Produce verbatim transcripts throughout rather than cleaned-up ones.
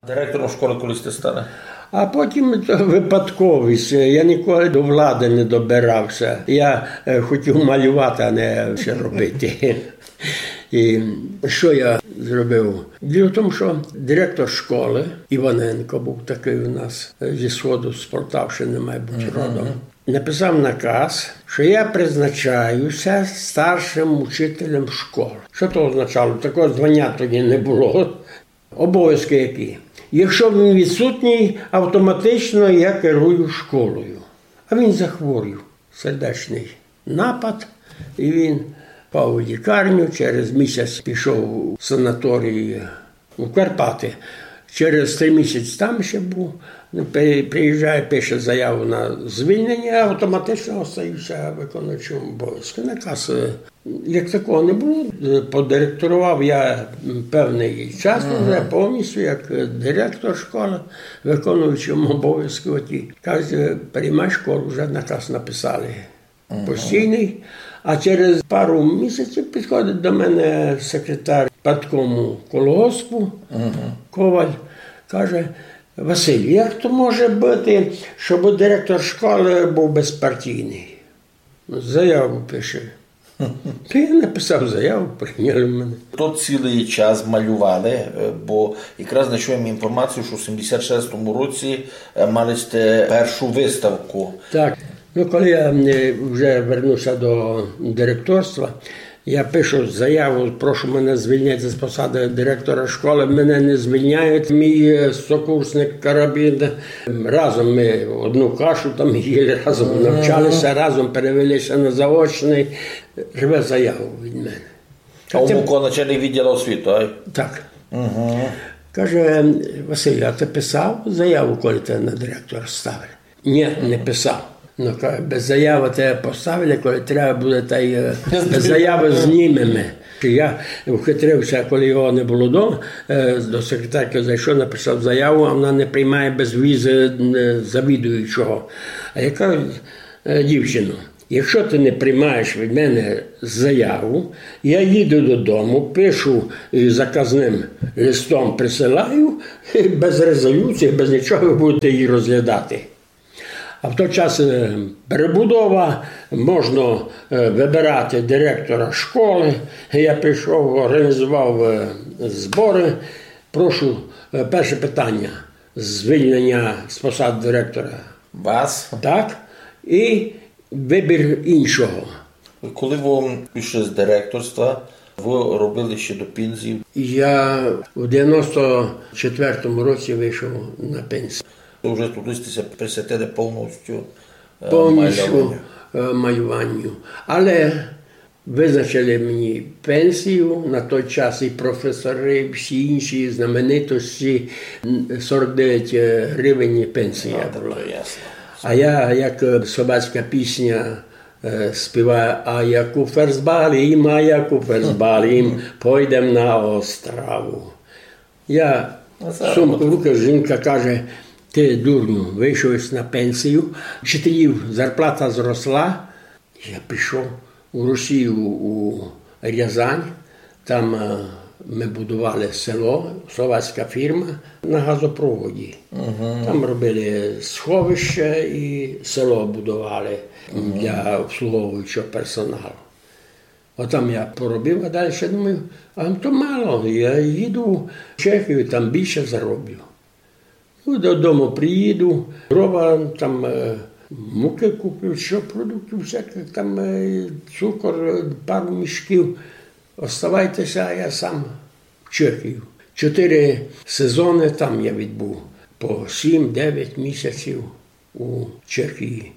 Директором школы коли сьте стали? А потім то випадковість. Я ніколи до влади не добирав ся. Я е, хотів малювати, а не ще робити. І що я зробив? Діло в тому, що директор школи Іваненко був такий у нас е, зі сходу, з Полтавщини, має бути, родом. Написав наказ, що я призначаюся старшим учителем школи. Що то означало? Такого звання тоді не було. Обов'язки які? Якщо він відсутній, автоматично я керую школою. А він захворів, сердечний напад, і він впав у лікарню, через місяць пішов в санаторій у Карпати. Через три місяці там ще був. При- Приїжджає, пише заяву на звільнення, автоматично остаюся виконуючим обов'язки. Наказ е, як такого не було. Е, Подиректорував я м, певний час уже повністю як е, директор школи, виконуючим обов'язки. Оті. Кажуть, е, приймай школу, вже наказ написали. Постійний. А через пару місяців підходить до мене секретар парткому колгоспу Коваль, каже: Василь, як то може бути, щоб директор школи був безпартійний? Заяву пише. То я написав заяву, прийняли мене. То цілий час малювали, е, бо якраз знайшов я інформацію, що в сімдесят шестому році е, мали сте першу виставку. Так. Ну, коли я е, вже вернувся до директорства, я пишу заяву, прошу мене звільнити з посади директора школи. Мене не звільняють. Мій е, сокурсник Карабін. Разом ми одну кашу там їли, разом навчалися, разом перевелися на заочний. Рве заяву від мене. А у Муко начальник відділу освіти, ай? Так. Каже: Василь, а ти писав заяву, коли тебе на директора ставили? Ні, не писав. Ну, каже, без заяви тебе поставили, коли треба буде, та й е, без заяви знімемо. Я ухитрився, коли його не було вдома, е, до секретарки зайшов, написав заяву, а вона не приймає без візи е, завідуючого. А я кажу: е, дівчино, якщо ти не приймаєш від мене заяву, я їду додому, пишу е, заказним листом, присилаю, і без резолюції, без нічого ви будете її розглядати. А в той час е, перебудова, можна е, вибирати директора школи. Я пішов, організував е, збори. Прошу, е, перше питання: звільнення з посад директора. Вас? Так. І вибір іншого. Коли ви пішли з директорства, ви робили ще до пенсії? Я в девяносто четвертому році вийшов на пенсію. Ви вже туди сте ся присвятили повністю е, Повністю малюванню. е, малюванню. Але визначили мені пенсію на той час, і професори, і всі інші знаменитості, м, сорок дев'ять гривень пенсія А, була. то ясно. А я, як е, словацька пісня е, співаю: а як у ферзбалі, а як у ферзбалі, пойдем на острову. Я сумку в руки, жінка каже: ти, дурню, вийшов єсь на пенсію, вчителів зарплата зросла. Я пішов у Росію, у Рязань, там е, ми будували село, словацька фірма на газопроводі. Там робили сховище і село будували для обслуговуючого персоналу. Отам я поробив, а далі думаю, а то мало, я їду в Чехію, там більше зароблю. Ну, додому приїду, дрова, там е, муки куплю, що продуктів всяких, там е, цукор, е, пару мішків. Оставайтеся, а я сам в Чехію. Чотири сезони там я відбув, по сім-дев'ять місяців у Чехії.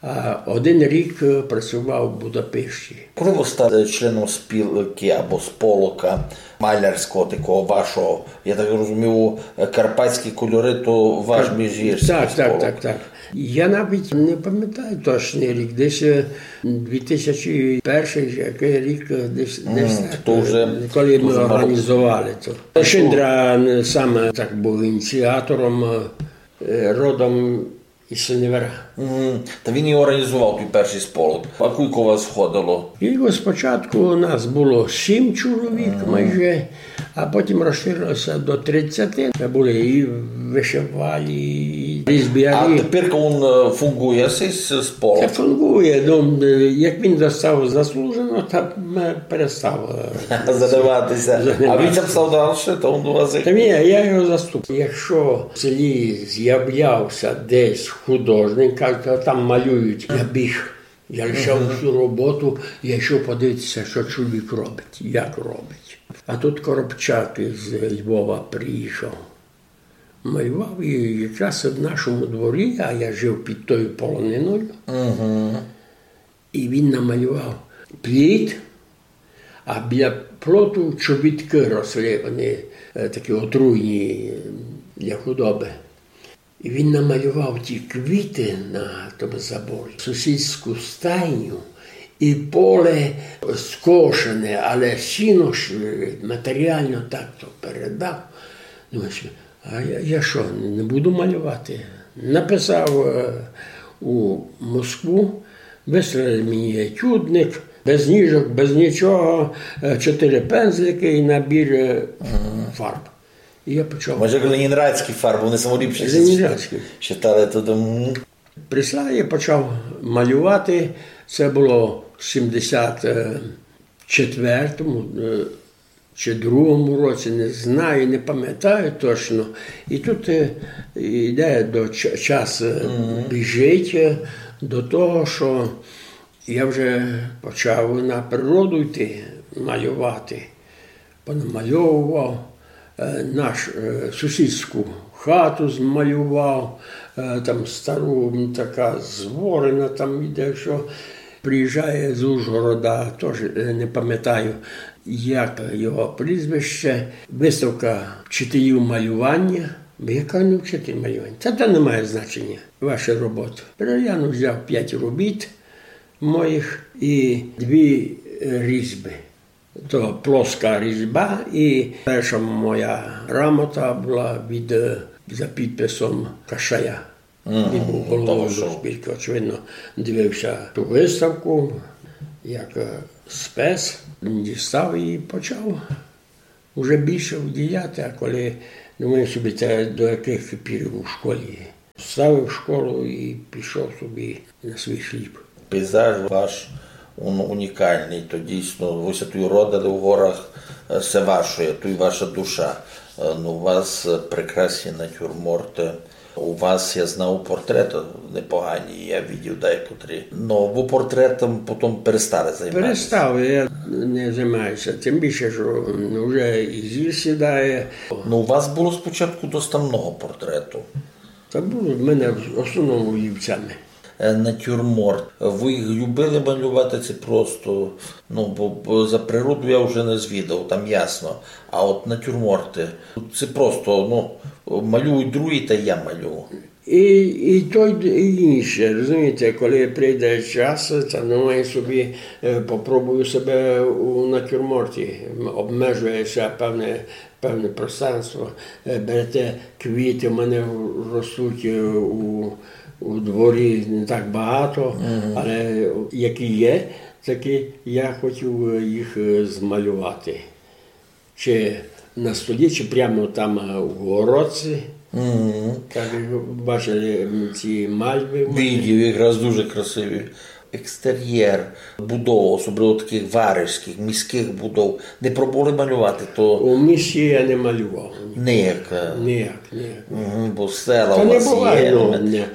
А один рік е, працював в Будапешті. Коли ви стали членом спілки або сполока малярського такого вашого, я так розумію, карпатські кольори, то ваш міжгірський Так, так, сполок. Так, так. Я навіть не пам'ятаю точний рік, десь е, дві тисячі перший, який рік, е, десь, десь так, то вже коли ми дуже мало. Організували то. Шиндра е, саме так був ініціатором, е, родом із Синевира. Мгм. Та він і організовав той першый сполох. А кулько вас входило? І спочатку нас было сім чоловік майже, а потім розширило ся до тридцяти. Мы были і вышивалі, і різбярі. А тепер він, е, фунґує, сей с-, сполох? Та фунґує. Ну, е, як він достав заслужено, та м, перестав, е, занимати ся. А він там став дальше, то він у вас як... Та ні, я його заступ. Якщо в селі з'являв ся десь художник, каже: «Там малюють», я біг. Я лишав усю роботу, я йшов подивитися, що чоловік робить, як робить. А тут Коробчак з Львова приїхав. Малював і якраз в нашому дворі, а я жив під тою полониною. Мгм. І він намалював пліт, а біля плоту чобіткы росли, вони, е, такі отруйні, е, для худобы. І він намалював ті квіты на тому заборі, сусідську стайню і поле скошене, але сіно ж, е, матеріально так то передав. Думаю собі, а я, я що, не буду малювати? Написав, е, у Москву, вислали мені етюдник, без ніжок, без нічого, е, чотири пензлики і набір, е, фарб. І я почав. Може, ленінградські фарбы, вони самоліпші. Ленінградські. Считали туды, м. Прислали, я почав малювати. Це было в сімдесят четвертому, е, чи другому році, не знаю, не пам'ятаю точно. І тут, е, іде до ч-, час, е, біжить, е, до того, що я вже почав на природу йти малювати. Понамальовував, е, наш, е, сусідську хату змалював, е, там стару, м, така зворена, там іде, що приїжджає з Ужгорода, тож, е, не пам'ятаю, як його прізвище, выставка вчителів малювання. Я кажу: «Не вчитель малювання». «Та то не має значення, ваша робота». Переглянув, взяв п'ять робіт моїх і дві, е, різьбы. То плоска різьба, і перша моя грамота была від, е, за підписом Кашая. Він быв головою госпілкы, очевидно, дивив ся ту выставку, як, е, спец, дістав і почав уже більше вділяти, а коли, думаю собі, це до якых пір у школі. Ставив школу і пішов собі на свій хліб. Пейзаж ваш, он унікалный, то дійсно, вы ся туй родили в горах, е, се ваше, туй ваша душа. Е, ну, у вас, е, прекрасні натюрморты. У вас, я знав, портреты непогані, я видів декотрі. Ну, вы портретом потім перестали займатися. Перестав, я не займаю ся. Тим більше, що, ну, вже і зір сідає. Ну, у вас было спочатку доста много портрету. Та было в мене в основному олівцями. Е, натюрморт. Вы їх любили малювати, ци просто, ну, бо, бо за природу я вже не звідав, там ясно. А от натюрморты, ци просто, ну, малюють другі, та я малюю. І, і то, і інше, розумієте, коли прийде час, та, ну, я собі, е, попробую себе у натюрморті. М, обмежує ся певне певне пространство, е, берете квіты, в мене ростуть, е, у, у дворі не так багато, але які є, такі я хотів, е, їх, е, змалювати. Чи на столі, чи прямо там, е, у городці. Так, як бачили, м, ці мальвы в мене. Видів, якраз дуже красиві. Екстер'єр будов, особливо такых варежськых, міськых будов, не пробовали малювати, то... У місті я не малював. Ніяк, е. Ніяк, ніяк. Мгм, бо села у вас є, ну, не.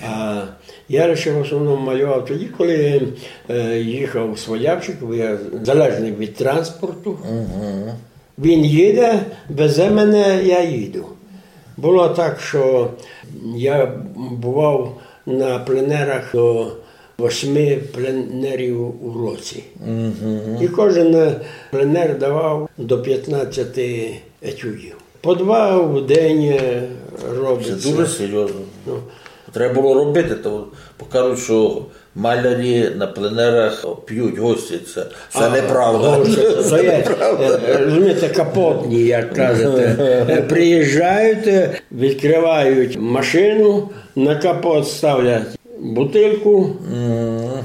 А я лише в основному малював тоді, коли, е, їхав свалявчик, бо я залежный від транспорту. Мгм. Він їде, везе мене, я їду. Было так, що я бував на пленерах до восьми пленерів у році. Мгм. І кожен пленер давав до пятнадцяти етюдів. По два в день, е, робить. Це дуже серйозно. Ну, Треба было робити, то покажуть, што малярі на пленерах пють, гостяться. Се неправда. Гостяться. То є, е, розумієте, капотні, як кажете. Е, приїжджають, е, відкривають машину, на капот ставлять бутылку,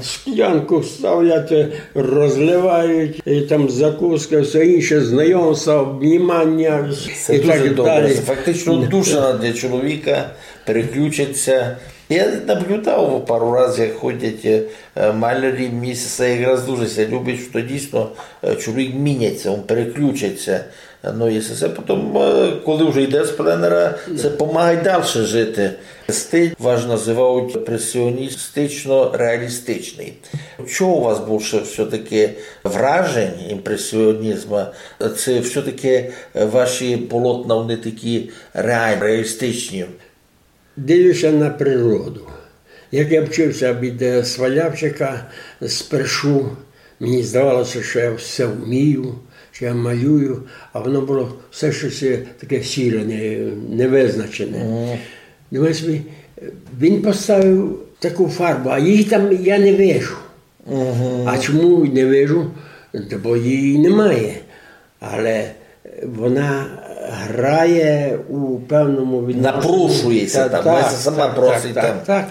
склянку ставлять, е, розливають, і там закуска, всьо інше, знайомства, обнімання і так далі. Се дуже добре. Се фактично душа для чоловіка переключить ся. Я наблюдав пару раз, як ходять, е, малярі, мені се якраз дуже ся любить, што дійсно, е, чоловік мінять ся, він переключить ся. Ну, і се, се потім, е, коли вже йде з пленера, се помагає дальше жити. Стиль ваш називають імпресіоністично-реалістичный. Чого у вас більше все-таки вражень імпресіонізму? Се все-таки, е, ваші полотна, вони такі реальні, реалістичні? Дивлюся на природу. Як я вчився від, е, Свалявчика, спершу мені здавалося, що я все вмію, що я малюю, а воно було все щось, е, таке сіре, не-, невизначене. Думаю собі, е, він поставив таку фарбу, а її там я не вижу. А чому не вижу? Та бо її немає. Але вона грає у певному відношенні. Напрошує ся там, вона сама просить там. Так, так.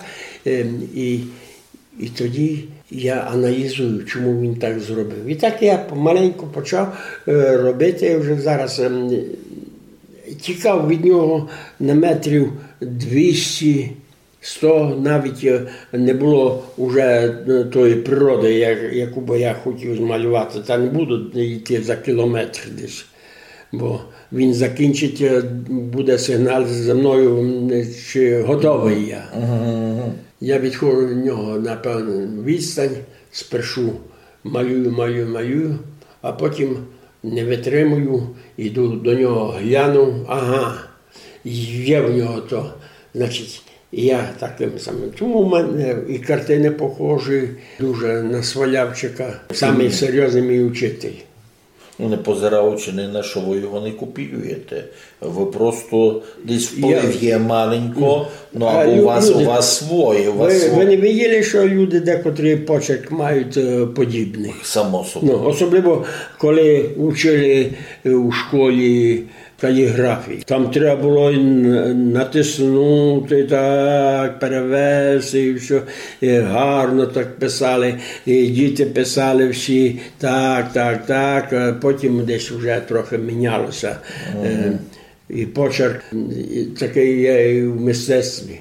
Ем, і, і тоді я аналізую, чому він так зробив. І так я помаленьку почав, е, робити. Вже зараз, ем, тікав від нього на метрів двісті, сто, навіть, е, не було уже, е, тої природи, як-, яку би я хотів змалювати. Та не буду йти за кілометр десь, бо він закінчить, е, буде сигнал за мною, м, чи готовий я. Я відходжу від нього на певну відстань, спершу малюю, малюю, малюю, а потім не витримую, іду до нього, гляну, ага, є в нього то. Значить, я таким самим. Тому в мене і картини похожі дуже на Свалявчика. Самий серйозний мій учитель. Ну, не позираючи ні на що, ви його не копіюєте. Ви просто десь вплив є маленько, ну, або у вас, у вас своє, у вас своє. Ви не виділи, що люди декотрі почерк мають, е, подібний? Само собою. Ну, особливо, коли учили, е, у школі каліґрафії. Там треба було н-, натиснути так, перевести і всьо. І гарно так писали, і діти писали всі так, так, так. А потім десь вже трохи мінялося. Е, і почерк, і такий є і в мистецтві.